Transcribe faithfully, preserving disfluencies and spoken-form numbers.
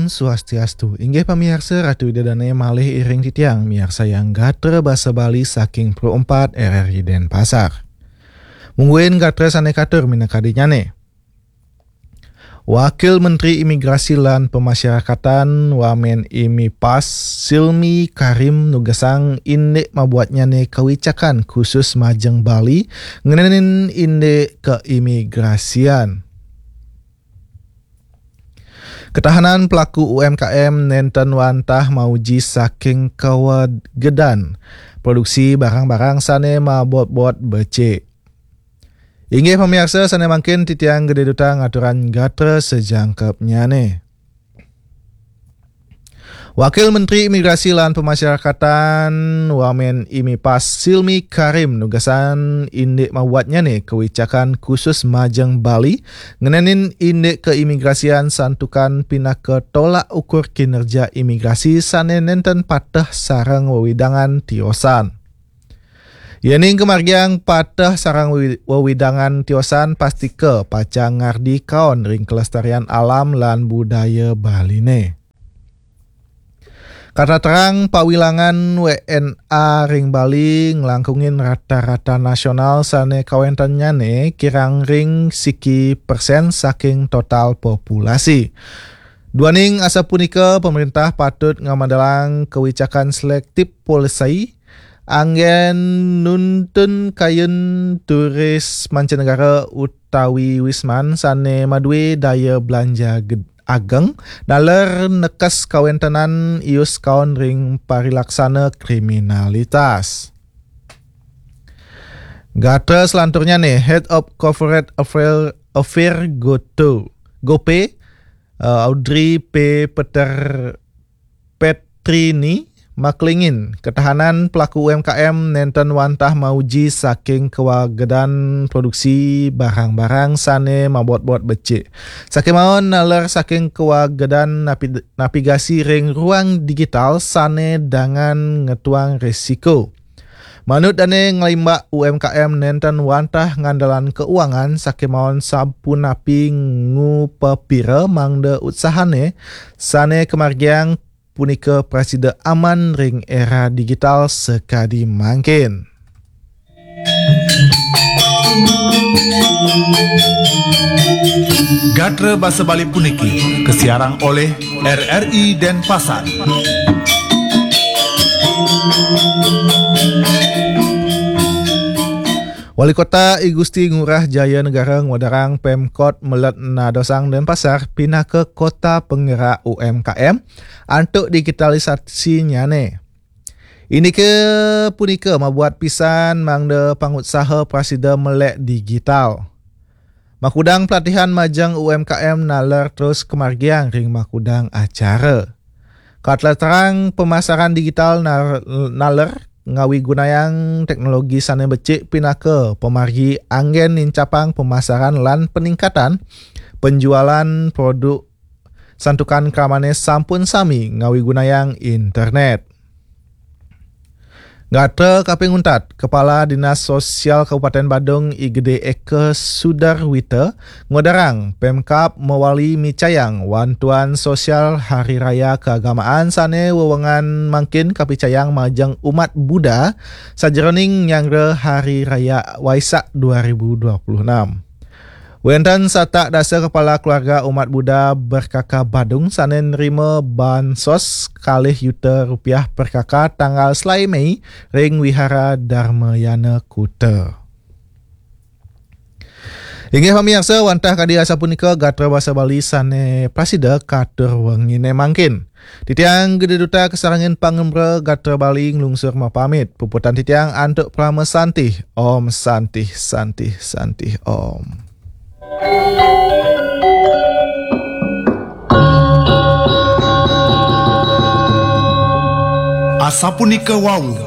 Swastiastu. Inggih pamiarsa, Ratu Ida Dane malih iring titiang miarsayang gatra basa Bali saking Pro empat R R I Denpasar. Mungguing gatra sane katur minakadinyane. Wakil Menteri Imigrasi lan Pemasyarakatan Wamen Imipas Silmi Karim nugesang indik mabuatnyane kawicakan khusus majeng Bali ngenenin indik keimigrasian. Ketahanan pelaku U M K M nenten wantah mauji saking kawagedan produksi barang-barang sane mabot-bot becik. Inggih pamiarsa, sane mangkin titiang Gede Duta ngaturang gatra sejangkepnyane. Wakil Menteri Imigrasi lan Pemasyarakatan Wamen Imipas Silmi Karim nugesang indik mabuatnyane kewicakan khusus majeng Bali ngenenin indik keimigrasian santukan pinaka tolak ukur kinerja imigrasi sane nenten pateh sareng wewidangan tiosan. Yening kemargiang pateh sareng wewi-, wewidangan tiosan, pastika pacang ngardi kaon ring kelestarian alam lan budaya Baline. Kata terang, pawilangan W N A ring Bali nglangkungin rata-rata nasional sane kawentennyane kirang ring siki persen saking total populasi. Duaning asapunika, pemerintah patut ngamadelang kawicakan selektif polisi anggen nuntun kayun turis mancanegara utawi wisman sane madue daya belanja ged-, ageng, naler nekes kawentenan ius kaon ring parilaksana kriminalitas. Gatra selanturnyane, Head of Corporate Affair, Affair Goto, Gope, eh, Audrey P. Peter Petrini maklingin ketahanan pelaku U M K M nenten wantah mauji saking kawagedan produksi barang-barang sane mabot-bot becik. Sakemawon naler saking kawagedan napi-, navigasi ring ruang digital sane dangan ngetuang resiko. Manut dane, nglimbak U M K M nenten wantah ngandelan keuangan sakemawon sapunapi ngupapira mangda utsahane sane kamargiang punika prasida aman ring era digital sakadi mangkin. Gatra basa Bali puniki kasiarang olih R R I Denpasar. Wali Kota I Gusti Ngurah Jaya Negara ngwedarang Pemkot Melet nadosang Denpasar pinaka kota penggerak U M K M antuk digitalisasinyane. Indike punika mabuat pisan mangda pangutsaha prasida melek digital. Makudang pelatihan majeng U M K M naler terus kamargiang ring makudang acara. Katlatarang pemasaran digital nar-, naler ngawigunayang teknologi sane becik pinaka pamargi anggen nincapang pemasaran lan peningkatan penjualan produk santukan kramane sampun sami ngawigunayang internet. Gatra kaping untat, Kepala Dinas Sosial Kabupaten Badung I Gede Eka Sudarwita ngwedarang Pemkab mawali micayang wantuan sosial Hari Raya Keagamaan sane wewengan mangkin kapicayang majeng umat Buddha sajeroning nyanggra Hari Raya Waisak dua ribu dua puluh enam. Wenten satak dasa kepala keluarga umat Buddha Berkaka Badung sane nerima bansos kalih yuta rupiah perkaka tanggal selae Mei ring Wihara Dharmayana Kuta. Inggih pamiarsa, wantah kadi asapunika gatra basa Bali sane prasida katur wengine mangkin. Titiang Gede Duta kasarengin pangembara gatra Bali nglungsur mapamit. Puputang titiang antuk parama santih. Om Santih, Santih, Santih, Om. Asapunika wau